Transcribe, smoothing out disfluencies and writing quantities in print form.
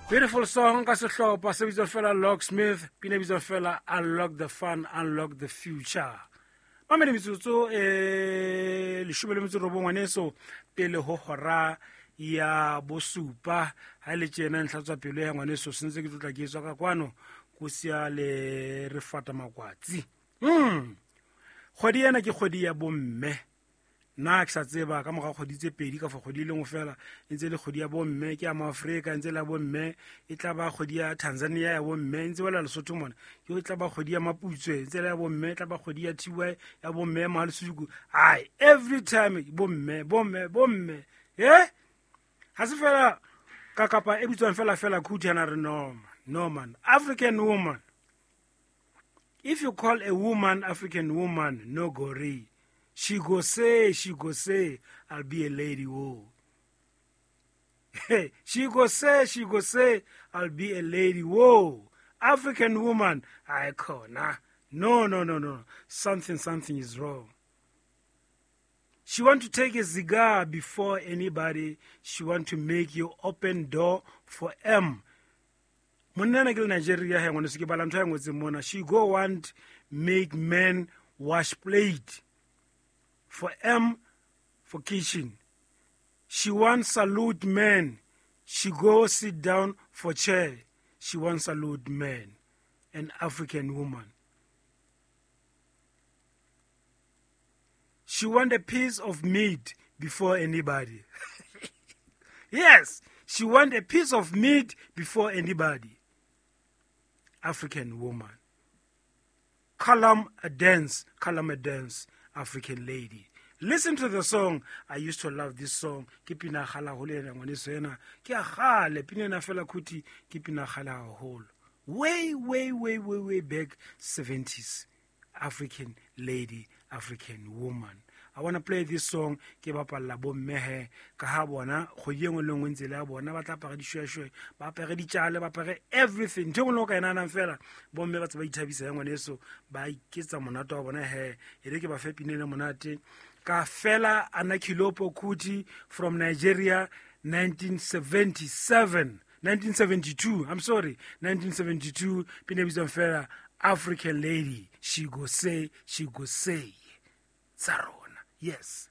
Beautiful song ka sehlopha se bitswang fela Locksmith, pina e bitswang fela Unlock the Fun, Unlock the Future. Mamele metsotso e 18 ngwaneso pele ho hora ya bosupa. Ha le tjena ntlha tswa pelo ya ngwaneso sentse ke tlotla ke tswa ka kwano ko sia le re fata makwatsi. Kgwedi ena ke kgwedi ya bomme. Nna ke sa tseba ka morago kgwedi tse pedi ka fa kgwedi e lengwe fela e ntse e le kgwedi ya bomme, ke ya Maafrika e ntse e le ya bomme, e tla ba kgwedi ya Tanzania ya bomme, e ntse wela Lesotho mona ke e tla ba kgwedi ya Maputswe e ntse e le ya bomme, e tla ba kgwedi ya TY ya bomme ya Mohalesuku. Ai, every time bomme, bomme, bomme. Ha se fela ka kapa e bitswang fela fela Khuti ana re no man, no man, African woman. If you call a woman African woman, no gory. She go say, she go say, I'll be a lady, whoa. Hey, she go say, she go say, I'll be a lady, whoa. African woman, I call, nah. No, no, no, no. Something, something is wrong. She want to take a cigar before anybody. She want to make you open door for M. Monna ena ke le Nigeria he ngwaneso ke bala ntho ya ngotseng mona. She go want make men wash plate for M for kitchen. She want salute men. She go sit down for chair. She want salute men. An African woman. She want a piece of meat before anybody. Yes, she want a piece of meat before anybody. African woman. Column a dance, column a dance, African lady. Listen to the song. I used to love this song. Ke pina kgale haholo ena, ngwaneso ena. Ke a kgale, pina ena fela khuti, ke pina kgale haholo. Way, way, way, way, way back, 70s. African lady, African woman. I want to play this song ke bapalla bomme he ka ha bona kgwedi e nngwe le nngwe ntse le ya bona ba tla apara dishweshwe, ba apare ditjale, ba apare everything. Ntho e nngwe le o ka e nahanang fela, bomme ba tse ba ithabisa ya ngwaneso, ba iketsa monate wa bona he. E re ke ba fe pina ena monate. Ka fela Anakilopo Kuti from Nigeria, 1977, 1972, I'm sorry, 1972, pina e bitswang fela African lady. She go say, she go say. Tsa rona. Yes.